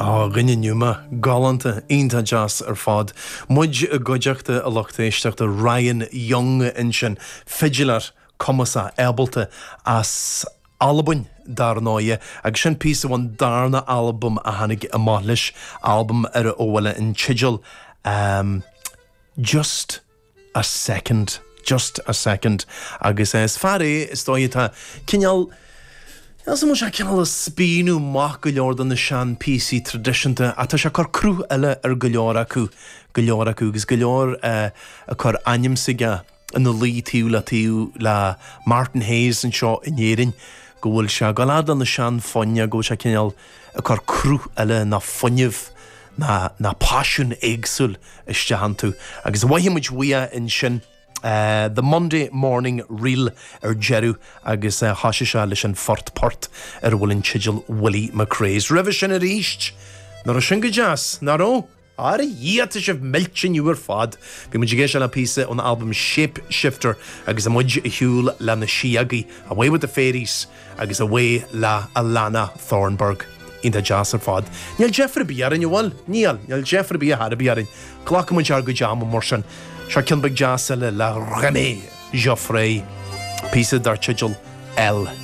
Á, dhuine Numa, galánta, iontach deas ar fad. Muid i gcuideachta a lucht éisteachta Ryan Young ansin, fidiléir cumasach, ábalta as Albain dar ndóighe, agus sin píosa ón darna albam a tháinig amach leis, albam ar a bhfuil an teideal Just a Second, Just a Second, agus is fear é is dóigh atá cineál, níl 's agam an bhfuil sé cineál ag spíonadh amach go leor de na sean píosaí traidisiúnta ach tá sé ag cur cruth eile ar go leor acu, go leor acu agus go leor ag cur ainm s'aige ina luí taobh le taobh le Martin Hayes anseo in Éirinn, go bhfuil sé ag dul fhad le na sean foinn, go bhfuil sé cineál ag cur cruth eile ná fuinneamh ná ná paisean éagsúil isteach iontu. Agus mhothaigh muid uaidh ansin The Monday Morning Reel ar deireadh agus thoisigh sé leis an phort port ar a bhfuil an teideal Willie McRae's. Roimhe sin arís, nach raibh sin go deas, nach raibh? Ar a Dhia, tá sibh millte inniu ar fad! Bhí muid ag éisteacht le píosa ón albam Shape Shifter agus muid ar shiúl le na síogaí, Away with the Fairies agus Away le Alana Thornburg. Iontach deas ar fad. Níl deifir ar bith orainn, an bhfuil? Níl, níl deifir ar bith ar chor ar bith orainn. Glacfaidh muid ár gcuid ama mar sin. Seo ceann beag deas eile le Rémi Geoffray, píosa dar teideal Elle.